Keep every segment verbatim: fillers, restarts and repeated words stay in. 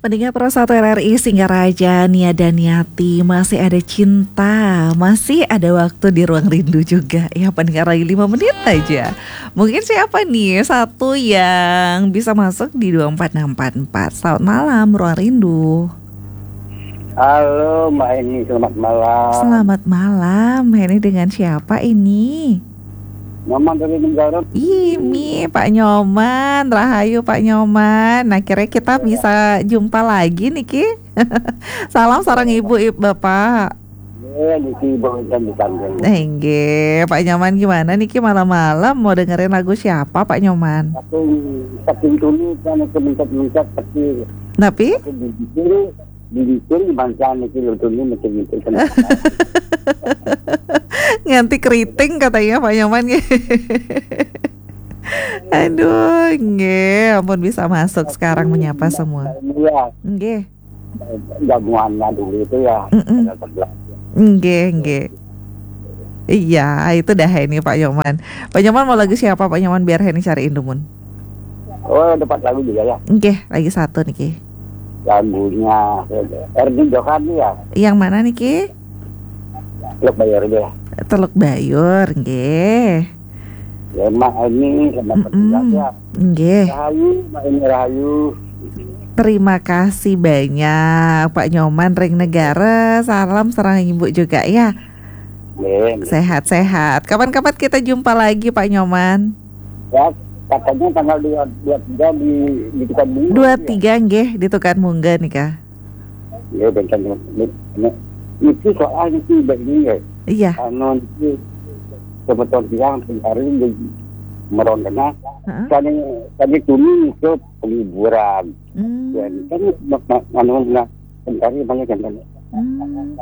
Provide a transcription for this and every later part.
Pendengar Pro satu R R I Singaraja, Nia dan Niati, masih ada cinta, masih ada waktu di ruang rindu juga. Ya, pendengar, lagi lima menit aja. Mungkin siapa nih satu yang bisa masuk di dua empat enam empat empat? Selamat malam, ruang rindu. Halo Mbak Eni, selamat malam. Selamat malam, ini dengan siapa ini? Nyoman dari Negara. Ih, Mi, Pak Nyoman, rahayu Pak Nyoman. Nah, kira kita bisa jumpa lagi niki. Salam sareng ibu, ibu bapak. Ya, di Ciboy kan di Tanjung. Enggih, Pak Nyoman, gimana niki malam-malam mau dengerin lagu siapa, Pak Nyoman? Tapi saking tuni kan itu mencet-mencet pasti Tapi aku di sini di sini di bangsa niki lo tuni mencet-mencet kan. Nganti keriting katanya Pak Nyoman. Aduh, nggih, ampun, bisa masuk sekarang menyapa semua. Iya, Nggih. Jamuannya dulu itu ya. Mm-mm. Ada sebelah. Nggih, nggih. Iya, itu dah ini Pak Nyoman. Pak Nyoman mau lagu siapa, Pak Nyoman, biar ini cariin dumun? Oh, dapat lagu juga ya. Nggih, lagi satu niki. Lagunya Erni Johan ya. Yang mana niki? Teluk Bayur aja ya. Teluk Bayur, nggih. Ya, Mak Eni sama Mm-mm. Petugas ya. Nggih. Rahayu, Mak Eni Rahayu. Terima kasih banyak Pak Nyoman ring Negara. Salam sareng ibu juga ya. Nggih. Sehat-sehat. Kapan-kapan kita jumpa lagi, Pak Nyoman. Ya, katanya tanggal dua dua tiga di di Tukang Bunga. Dua tiga nggih di Tukang Mungga nika. Ya, benten ini. Ini soal ini begini ya. Iya. Anu ini kebetulan bilang hari ini meron kena. Heeh. Kami kami tuni itu penghiburan. Hmm. Dan kan ma- ma- anu nah, kemarin banyak yang kan. Hmm.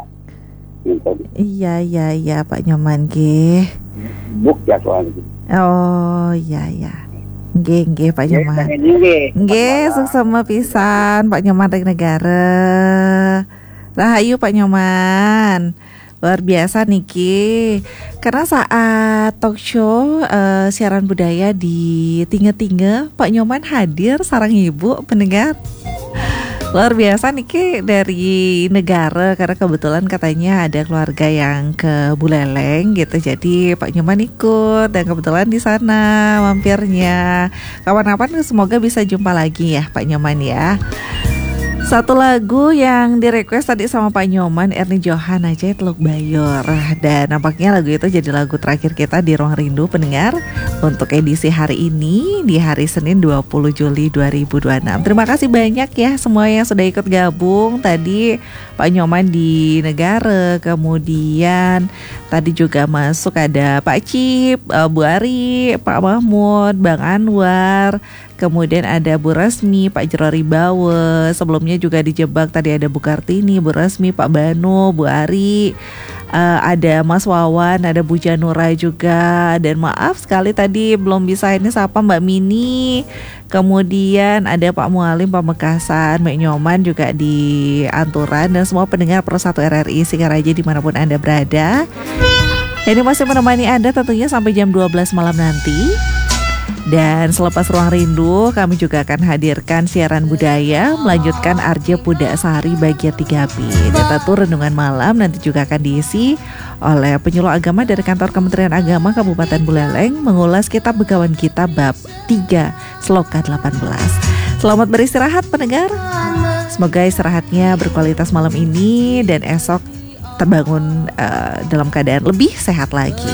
Gitu. Iya, iya, iya, Pak Nyoman nggih. Buk ya soalnya. Oh, iya, iya. Nggih, nggih, Pak Nyoman. Nggih, Nggih, suksema pisan Pak Nyoman ring Negara. Rahayu Pak Nyoman. Luar biasa niki. Karena saat talk show, eh, siaran budaya di Tinga-Tinga, Pak Nyoman hadir sareng ibu pendengar. Luar biasa niki dari Negara, karena kebetulan katanya ada keluarga yang ke Buleleng gitu. Jadi Pak Nyoman ikut dan kebetulan di sana mampirnya. Kapan-kapan semoga bisa jumpa lagi ya Pak Nyoman ya. Satu lagu yang di-request tadi sama Pak Nyoman, Erni Johan aja, Teluk Bayur. Dan nampaknya lagu itu jadi lagu terakhir kita di Ruang Rindu, pendengar, untuk edisi hari ini, di hari Senin dua puluh Juli dua ribu dua puluh enam. Terima kasih banyak ya semua yang sudah ikut gabung. Tadi Pak Nyoman di Negara, kemudian tadi juga masuk ada Pak Cip, eh, Bu Ari, Pak Mahmud, Bang Anwar, kemudian ada Bu Resmi, Pak Jero Ribawe, sebelumnya juga di Jebak tadi ada Bu Kartini, Bu Resmi, Pak Bano, Bu Ari, eh, ada Mas Wawan, ada Bu Janura juga. Dan maaf sekali tadi belum bisa ini sapa Mbak Mini. Kemudian ada Pak Mualim Pamekasan, Mbak Nyoman juga di Anturan, dan semua pendengar Pro satu R R I Singaraja dimanapun Anda berada. Ini masih menemani Anda tentunya sampai jam dua belas malam nanti. Dan selepas Ruang Rindu, kami juga akan hadirkan siaran budaya, melanjutkan Arja Puda Sari bagian tiga B. Tetap tuh renungan malam nanti juga akan diisi oleh penyuluh agama dari Kantor Kementerian Agama Kabupaten Buleleng, mengulas kitab Begawan Kita bab tiga, sloka delapan belas. Selamat beristirahat, pendengar. Semoga istirahatnya berkualitas malam ini dan esok terbangun, eh, dalam keadaan lebih sehat lagi.